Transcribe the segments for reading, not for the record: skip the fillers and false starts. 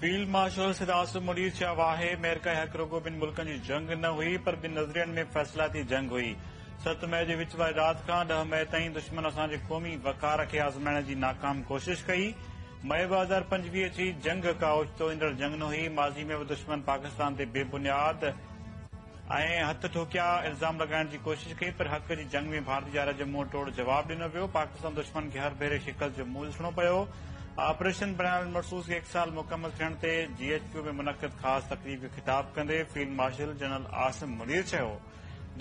Field marshal Syed Asim Munir چيو آهي، معرڪه حق رڳو ٻن ملڪن جي جنگ نه هئي پر ٻن نظرين ۾ فيصلائتي جنگ هئي. 7 مئي جي وچ واري رات کان 10 مئي تائين دشمن اسان جي قومي وقار کي آزمائڻ جي ناڪام ڪوشش ڪئي. مئي 2025 جي جنگ ڪا اوچتو ايندڙ جنگ نه هئي، ماضي ۾ به دشمن پاڪستان تي بي بنياد ۽ هٿ ٺوڪيا الزام لڳائڻ جي ڪوشش ڪئي پر حق جي جنگ ۾ ڀارتي جارحيت جو منهن ٽوڙ جواب ڏنو ويو، پاڪستان دشمن کي هر ڀيري شڪست جو منهن ڏسڻو پيو. آپريشن بنيان المرصوص کي هڪ سال مڪمل ٿيڻ تي جي ايڇ ڪيو ۾ منعقد خاص تقريب کي خطاب ڪندي field marshal general Asim Munir چيو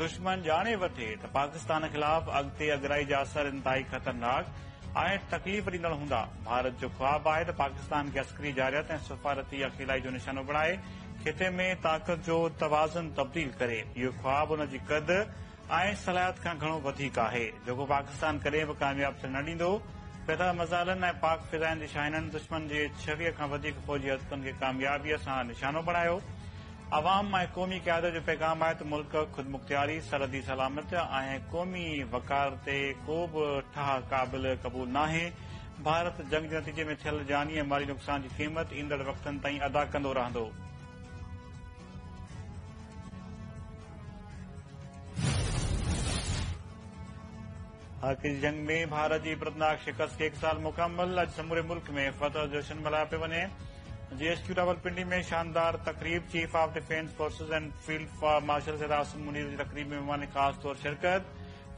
دشمن ڄاڻي وٺي ته پاڪستان خلاف اڳتي اڳرائي جا اثر انتهائي خطرناڪ ۽ تڪليف ڏيندڙ هوندا، ڀارت جو خواب آهي ته پاڪستان کي عسڪري جارحيت ۽ سفارتي اڪيلائي جو نشانو بڻائي خطي ۾ طاقت جو توازن تبديل ڪري، اهو خواب ان جي قد ۽ صلاحيت کان گهڻو وڌيڪ آهي، جيڪو پاڪستان ڪڏهن به ڪامياب ٿيڻ نه ڏيندو، فتح مزالن ۽ پاڪ فضائين جي شاهينن دشمن جي 26 کان وڌيڪ فوجي هدفن کي ڪاميابيء سان نشانو بڻايو. عوام ۽ قومي قيادت جو پيغام آهي ته ملڪ خودمختياري، سرحدي سلامت ۽ قومي وقار تي ڪو به ٺاهه قابل قبول ناهي، ڀارت جنگ جي نتيجي ۾ ٿيل جاني ۽ مالي نقصان جي قيمت ايندڙ وقتن تائين ادا ڪندو رهندو. حق جي جنگ ۾ ڀارت جي عبرتناڪ شڪست کي هڪ سال مڪمل، اڄ سموري ملڪ ۾ فتح جو جشن ملهايو پيو وڃي، جي ايڇ ڪيو راولپنڊي ۾ شاندار تقريب، chief of defence forces ۽ field marshal Syed Asim Munir جي تقريب ۾ مهمان خاص طور شرڪت،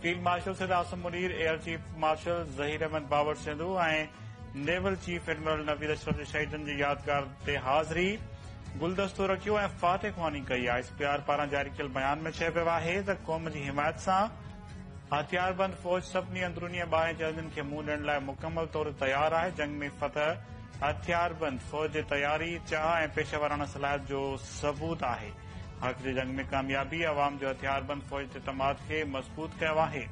field marshal Syed Asim Munir, air chief marshal Zaheer Ahmed Babar Sandhu ۽ naval chief admiral Naveed Ashraf جي شهيدن جي يادگار تي حاضري، گلدستو رکيو ۽ فاتح خواني ڪئي، I S P R پاران جاري ڪيل بيان ۾ چيو ويو آهي ته قوم جي حمايت سان هٿياربند فوج سڀني اندروني ۽ ٻاهرين چئلينجن کي منهن ڏيڻ لاء مڪمل طور تي تيار آهي، جنگ ۾ فتح هٿياربند فوج جي تياري، چاهه ۽ پيشيواراڻه صلاحيت جو ثبوت آهي، حق جي جنگ ۾ ڪاميابي عوام جو هٿياربند فوج تي اعتماد کي مضبوط ڪيو آهي.